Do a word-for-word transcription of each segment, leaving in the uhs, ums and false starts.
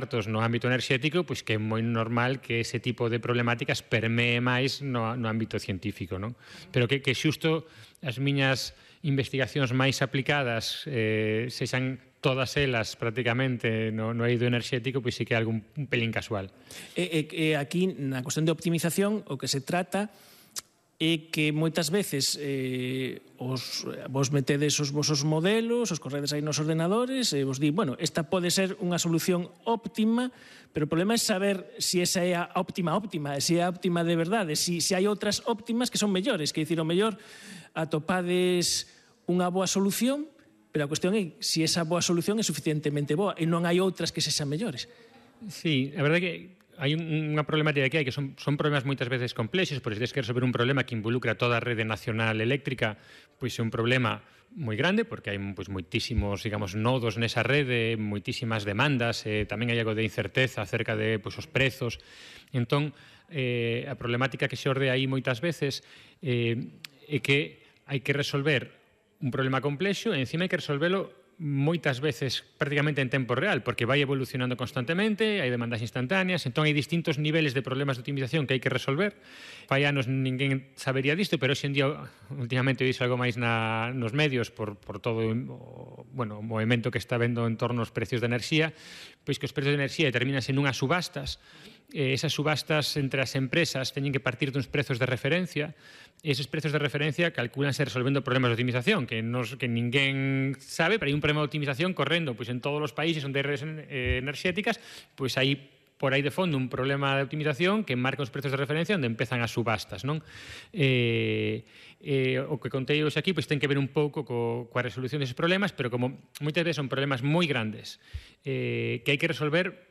expertos no ámbito enerxético, pois que é moi normal que ese tipo de problemáticas permee máis no, no ámbito científico, non? Pero que, que xusto as miñas investigacións máis aplicadas eh, sexan todas elas prácticamente no, no eido enerxético, pois sí que é algo un, un pelín casual. E, e, e aquí, na cuestión de optimización, o que se trata é que moitas veces eh, os, vos metedes os vosos modelos, os corredes aí nos ordenadores e vos di, bueno, esta pode ser unha solución óptima, pero o problema é saber se si esa é a óptima óptima, se é a óptima de verdade, se si, si hai outras óptimas que son mellores, que dicir, o mellor atopades unha boa solución, pero a cuestión é se si esa boa solución é suficientemente boa e non hai outras que sexan mellores. Sí, a verdade é que hai unha problemática que hai que son, son problemas moitas veces complexos, porque se tens que resolver un problema que involucra toda a rede nacional eléctrica, pois é un problema moi grande, porque hai pois, moitísimos, digamos, nodos nesa rede, moitísimas demandas, eh, tamén hai algo de incerteza acerca de pois, os prezos. Entón, eh, a problemática que se orde aí moitas veces eh, é que hai que resolver un problema complexo e encima hai que resolvelo moitas veces prácticamente en tempo real, porque vai evolucionando constantemente, hai demandas instantáneas, entón hai distintos niveles de problemas de optimización que hai que resolver. Fai anos ninguén sabería disto, pero hoxe en día últimamente dixo algo máis na, nos medios por, por todo o, bueno, o movimento que está vendo en torno aos precios de enerxía, pois que os precios de enerxía determinanse nunhas subastas, eh, esas subastas entre as empresas teñen que partir duns prezos de referencia, e esos prezos de referencia calculanse resolvendo problemas de optimización que, nos, que ninguén sabe, pero hai un problema de optimización correndo pois, en todos os países onde hai redes eh, enerxéticas, pois hai por aí de fondo un problema de optimización que marca os prezos de referencia onde empezan as subastas, non? Eh, eh, o que contei hoxe aquí pois, ten que ver un pouco co, coa resolución deses problemas, pero como moitas veces son problemas moi grandes eh, que hai que resolver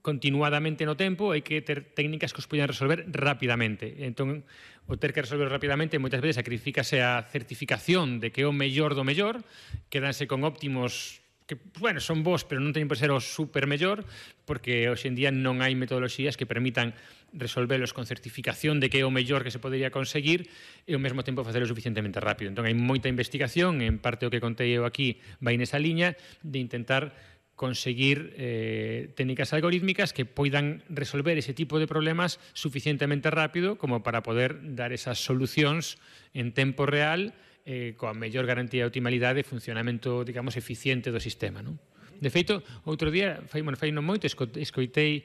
continuadamente no tempo, hai que ter técnicas que os poidan resolver rapidamente. Entón, o ter que resolver rapidamente moitas veces sacrificase a certificación de que é o mellor do mellor, quedanse con óptimos que, bueno, son bons, pero non teñen por ser o super mellor, porque hoxe en día non hai metodoloxías que permitan resolvelos con certificación de que é o mellor que se podería conseguir e ao mesmo tempo facelo suficientemente rápido. Entón, hai moita investigación, en parte o que contei eu aquí vai nesa liña de intentar conseguir eh, técnicas algorítmicas que poidan resolver ese tipo de problemas suficientemente rápido como para poder dar esas solucións en tempo real eh, coa mellor garantía de optimalidade e funcionamento, digamos, eficiente do sistema, non? De feito, outro día, fai, bueno, fai non moito, escoitei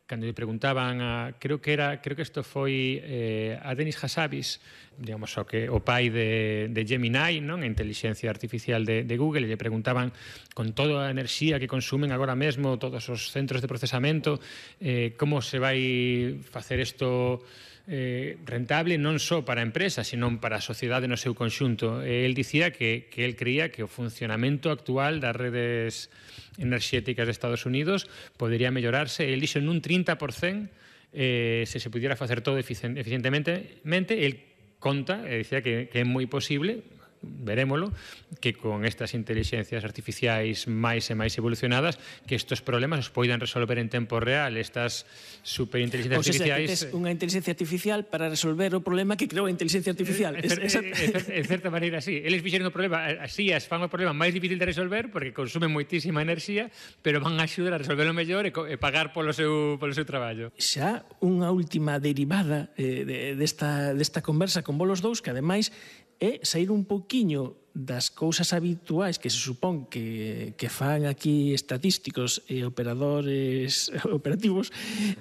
cando lle preguntaban a, creo que era, creo que isto foi eh, a Denis Hassabis, digamos, o que o pai de, de Gemini, non? A inteligencia artificial de, de Google, e lle preguntaban con toda a enerxía que consumen agora mesmo todos os centros de procesamento, eh, como se vai facer isto eh, rentable non só para a empresa, sino para a sociedade no seu conxunto. E el dicía que, que el creía que o funcionamento actual das redes enerxéticas de Estados Unidos podería mellorarse, el dixo nun trinta por cento eh, se se pudiera facer todo eficientemente. El conta, e dicía que, que é moi posible, verémolo, que con estas inteligencias artificiais máis e máis evolucionadas, que estes problemas os poidan resolver en tempo real, estas superinteligencias artificiais... O sea, que tes unha inteligencia artificial para resolver o problema que creou a inteligencia artificial. En, en, en certa maneira, sí. Eles fixeron o problema, así as fan o problema máis difícil de resolver porque consumen moitísima enerxía, pero van a axudar a resolverlo mellor e, e pagar polo seu, polo seu traballo. Xa unha última derivada eh, de, desta, desta conversa con vos dous, que ademais é sair un pouquiño das cousas habituais que se supón que, que fan aquí estatísticos e operadores operativos.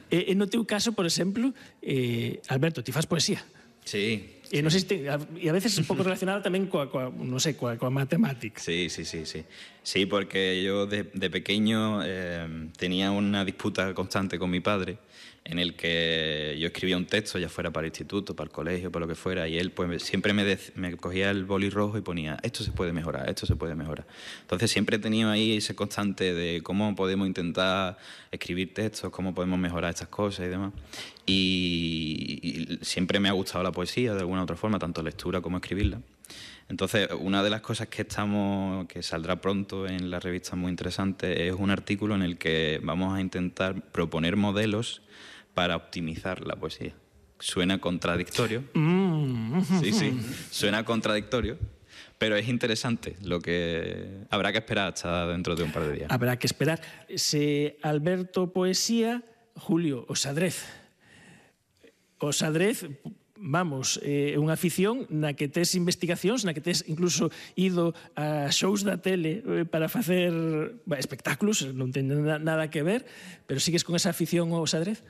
E, e no teu caso, por exemplo, eh, Alberto, ti fas poesía. Sí. E non sei se te, e a veces un pouco relacionada tamén coa, coa non sei, coa, coa matemática. Sí, sí, sí, sí. Sí, porque yo de, de pequeño eh, tenía una disputa constante con mi padre en el que yo escribía un texto, ya fuera para el instituto, para el colegio, para lo que fuera, y él pues siempre me, de, me cogía el boli rojo y ponía, esto se puede mejorar, esto se puede mejorar. Entonces siempre he tenido ahí ese constante de cómo podemos intentar escribir textos, cómo podemos mejorar estas cosas y demás. Y, y siempre me ha gustado la poesía de alguna u otra forma, tanto lectura como escribirla. Entonces, una de las cosas que estamos, que saldrá pronto en la revista muy interesante, es un artículo en el que vamos a intentar proponer modelos para optimizar la poesía. Suena contradictorio. Sí, sí, suena contradictorio, Pero es interesante, lo que habrá que esperar hasta dentro de un par de días. Habrá que esperar. Se Alberto poesía, Julio, o xadrez. O xadrez, vamos, é eh, unha afición na que tes investigacións, na que tes incluso ido a shows da tele eh, para facer bah, espectáculos, non ten nada que ver, pero sigues con esa afición ao xadrez?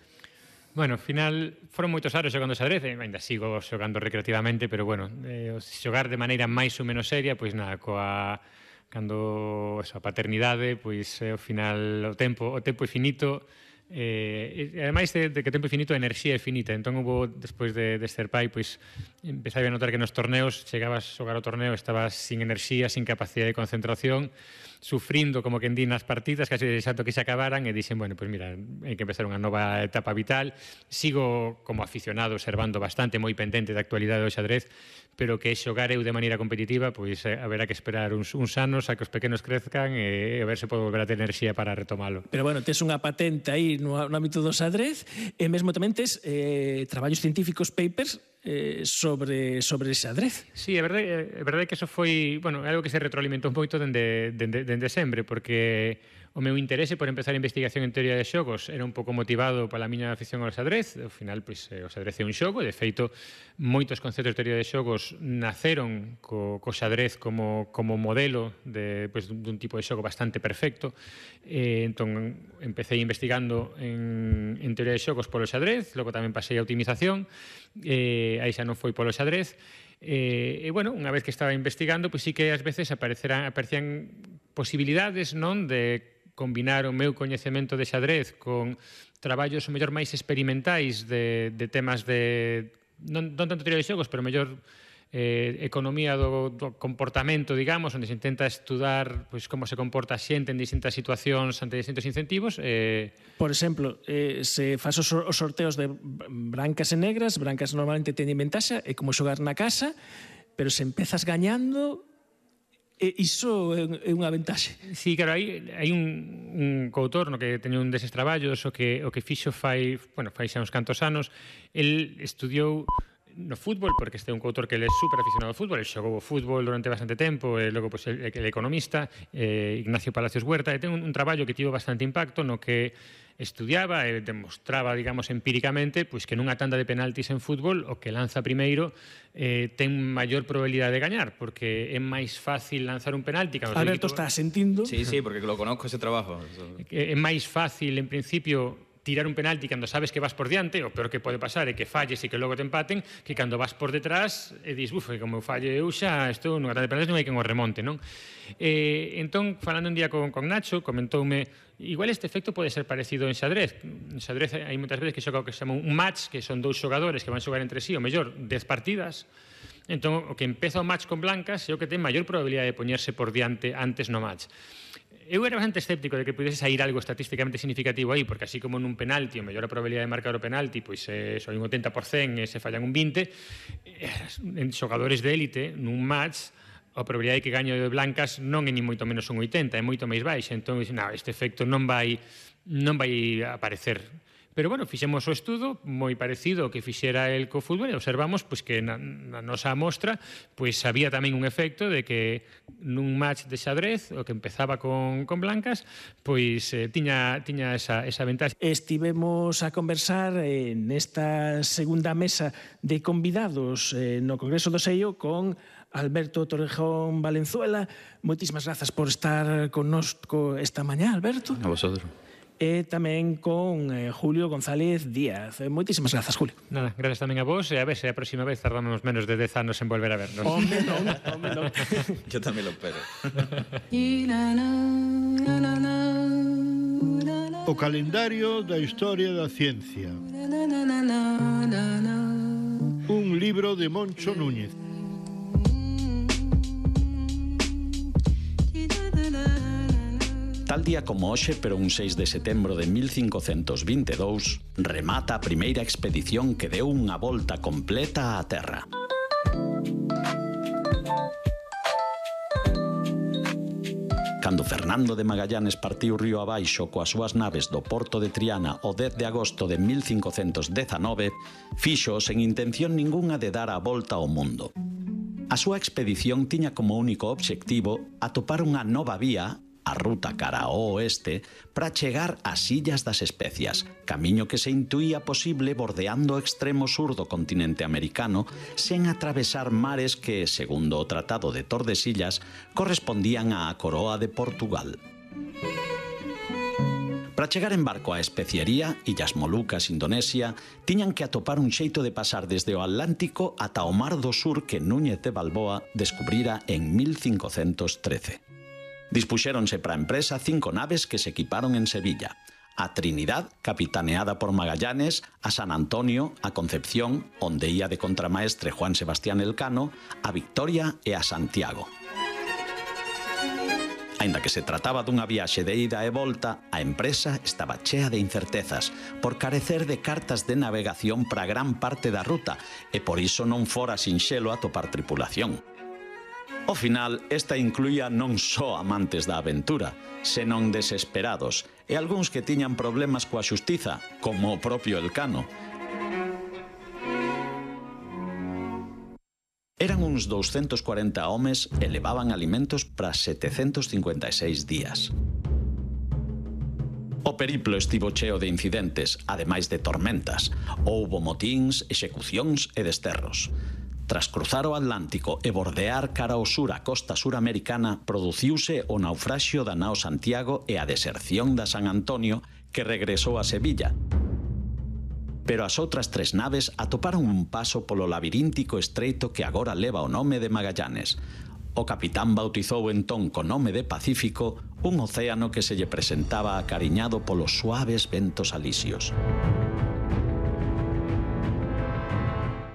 Bueno, ao final foron moitos anos xogando xadrez, e ainda sigo xogando recreativamente, pero bueno, eh, xogar de maneira máis ou menos seria, pois nada, coa cando esa paternidade, pois eh, ao final o tempo, o tempo é finito. Eh, e ademais de, de que tempo infinito a enerxía é finita, entón hubo, despois de, de ser pai, pois empezaba a notar que nos torneos chegabas a xogar o torneo, estabas sin enerxía, sin capacidade de concentración, sufrindo como que en di nas partidas, casi desexando que se acabaran, e dixen, bueno, pois mira, hai que empezar unha nova etapa vital. Sigo como aficionado observando bastante, moi pendente da actualidade do xadrez, pero que xogar eu de maneira competitiva, pois eh, haberá que esperar uns, uns anos a que os pequenos crezcan e a ver se podo volver a ter enerxía para retomalo. Pero bueno, tes unha patente aí no, no ámbito do xadrez e mesmo tamén tes eh, traballos científicos, papers, eh, sobre, sobre xadrez. Sí, é verdade, é verdade que eso foi, bueno, algo que se retroalimentou moito dende, dende, dende sempre, porque o meu interese por empezar a investigación en teoría de xogos era un pouco motivado pola miña afición ao xadrez. Ao final, pois, o xadrez é un xogo, de feito, moitos conceptos de teoría de xogos naceron co, co xadrez como, como modelo de, pois, dun tipo de xogo bastante perfecto. Eh, entón, empecé investigando en, en teoría de xogos polo xadrez, logo tamén pasei a optimización, eh, aí xa non foi polo xadrez. E, e, bueno, unha vez que estaba investigando, pois sí que ás veces apareceran, aparecían posibilidades, non, de combinar o meu coñecemento de xadrez con traballos o mellor máis experimentais de, de temas de non, non tanto teoría de xogos, pero mellor eh, economía do, do comportamento, digamos, onde se intenta estudar pois, como se comporta a xente en distintas situacións ante distintos incentivos. Eh... Por exemplo, eh, se faz os sorteos de brancas e negras, brancas normalmente teñen ventaxa, é como xogar na casa, pero se empezas gañando, e iso é unha ventaxe. Sí, claro, hai, hai un, un coautor no que teño un deses traballos o que, o que fixo fai, bueno, fai xa uns cantos anos. El estudiou no fútbol, porque este é un coautor que ele é super aficionado ao fútbol, ele xogou o fútbol durante bastante tempo, e logo pues, el, el economista, eh, Ignacio Palacios Huerta, e ten un, un traballo que tivo bastante impacto no que estudiaba e demostraba, digamos, empíricamente, pois que nunha tanda de penaltis en fútbol o que lanza primeiro eh, ten maior probabilidade de gañar, porque é máis fácil lanzar un penalti. Alberto está sentindo. Sí, sí, porque lo conozco ese trabajo. É máis fácil, en principio, tirar un penalti cando sabes que vas por diante, o peor que pode pasar é que falles e que logo te empaten, que cando vas por detrás e dis, uf, como falle eu xa, isto nunha tanda de penaltis non hai quen o remonte, non? Eh, entón, falando un día con, con Nacho, comentoume, igual este efecto pode ser parecido en xadrez. En xadrez hai moitas veces que xoga o que se chama un match, que son dous xogadores que van xogar entre sí, o mellor, dez partidas. Entón, o que empeza o match con blancas é o que ten maior probabilidade de poñerse por diante antes no match. Eu era bastante escéptico de que pudese sair algo estatísticamente significativo aí, porque así como nun penalti, o mellor a probabilidade de marcar o penalti, pois é só un oitenta por cento e se fallan un vinte, en xogadores de élite, nun match, a probabilidade de que gaño de blancas non é ni moito menos un oitenta, é moito máis baixa. Entón, no, este efecto non vai, non vai aparecer. Pero, bueno, fixemos o estudo moi parecido ao que fixera el co fútbol e observamos pois, que na, na nosa amostra pois, había tamén un efecto de que nun match de xadrez, o que empezaba con, con blancas, pois eh, tiña, tiña esa, esa ventaxa. Estivemos a conversar eh, nesta segunda mesa de convidados eh, no Congreso do Seio con Alberto Torrejón Valenzuela. Moitísimas grazas por estar connosco esta mañá, Alberto. A vosotros. E tamén con eh, Julio González Díaz. Moitísimas grazas, Julio. Nada, grazas tamén a vos, e a ver se a próxima vez tardamos menos de dez anos en volver a vernos. Home, non, home, non. Yo tamén lo espero. O calendario da historia da ciencia. Un libro de Moncho Núñez. Tal día como hoxe, pero un seis de setembro de mil cincocentos vinte e dous, remata a primeira expedición que deu unha volta completa á Terra. Cando Fernando de Magallanes partiu río abaixo coas súas naves do porto de Triana o dez de agosto de mil cincocentos dezanove, fixo sen intención ningunha de dar a volta ao mundo. A súa expedición tiña como único obxectivo atopar unha nova vía, a ruta cara ao oeste, para chegar ás Illas das Especias, camiño que se intuía posible bordeando o extremo sur do continente americano sen atravesar mares que, segundo o Tratado de Tordesillas, correspondían á Coroa de Portugal. Para chegar en barco á especiería, Illas Molucas, Indonesia, tiñan que atopar un xeito de pasar desde o Atlántico ata o Mar do Sur que Núñez de Balboa descubrira en mil cincocentos trece. Dispuxéronse para a empresa cinco naves que se equiparon en Sevilla: a Trinidad, capitaneada por Magallanes, a San Antonio, a Concepción, onde ía de contramaestre Juan Sebastián Elcano, a Victoria e a Santiago. Aínda que se trataba dunha viaxe de ida e volta, a empresa estaba chea de incertezas por carecer de cartas de navegación para gran parte da ruta e por iso non fora sinxelo atopar tripulación. Ao final, esta incluía non só amantes da aventura, senón desesperados e algúns que tiñan problemas coa xustiza, como o propio Elcano. Eran uns douscentos cuarenta homes e levaban alimentos para setecentos cincuenta e seis días. O periplo estivo cheo de incidentes, ademais de tormentas. Houbo motíns, execucións e desterros. Tras cruzar o Atlántico e bordear cara ao sur a costa suramericana, produciuse o naufraxio da nao Santiago e a deserción da San Antonio, que regresou a Sevilla. Pero as outras tres naves atoparon un paso polo labiríntico estreito que agora leva o nome de Magallanes. O capitán bautizou entón co nome de Pacífico un océano que se lle presentaba acariñado polos suaves ventos alisios.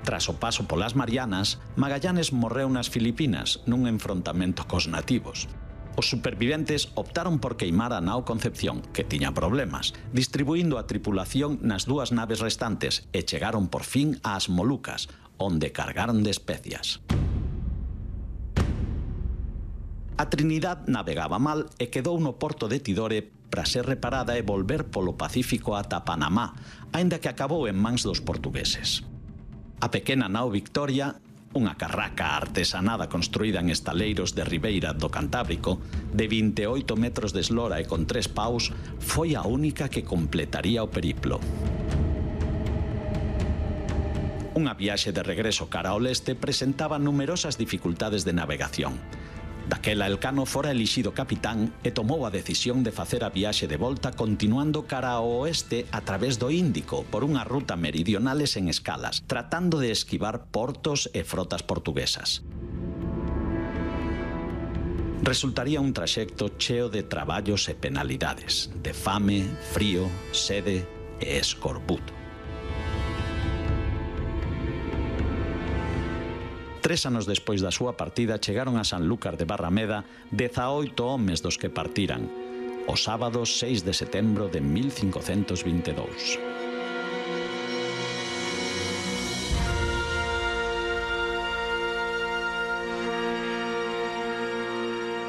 Tras o paso polas Marianas, Magallanes morreu nas Filipinas nun enfrontamento cos nativos. Os superviventes optaron por queimar a nao Concepción, que tiña problemas, distribuindo a tripulación nas dúas naves restantes e chegaron por fin ás Molucas, onde cargaron de especias. A Trinidad navegaba mal e quedou no porto de Tidore para ser reparada e volver polo Pacífico ata Panamá, aínda que acabou en mans dos portugueses. A pequena nao Victoria, unha carraca artesanada construída en estaleiros de Ribeira do Cantábrico, de vinte e oito metros de eslora e con tres paus, foi a única que completaría o periplo. Unha viaxe de regreso cara ao leste presentaba numerosas dificultades de navegación. Daquela Elcano fora elixido capitán e tomou a decisión de facer a viaxe de volta continuando cara ao oeste a través do Índico por unha ruta meridional e sen escalas, tratando de esquivar portos e frotas portuguesas. Resultaría un traxecto cheo de traballos e penalidades, de fame, frío, sede e escorbuto. Tres anos despois da súa partida chegaron a Sanlúcar de Barrameda dezaoito homes dos que partiran, o sábado seis de setembro de mil cincocentos vinte e dous.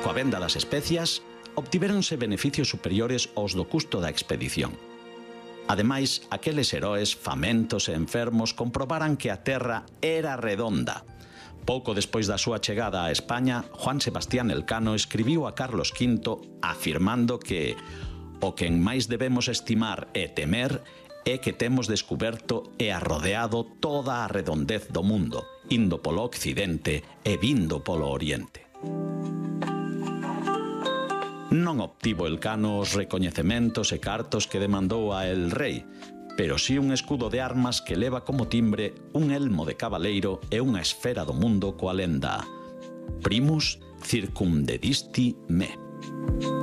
Coa venda das especias, obtivéronse beneficios superiores aos do custo da expedición. Ademais, aqueles heroes famentos e enfermos comprobaran que a terra era redonda. Pouco despois da súa chegada a España, Juan Sebastián Elcano escribiu a Carlos quinto afirmando que o que en máis debemos estimar e temer é que temos descuberto e arrodeado toda a redondez do mundo, indo polo occidente e vindo polo oriente. Non obtivo Elcano os recoñecementos e cartos que demandou a el rei, pero sí un escudo de armas que leva como timbre un elmo de cabaleiro e unha esfera do mundo coa lenda Primus circumdedisti me.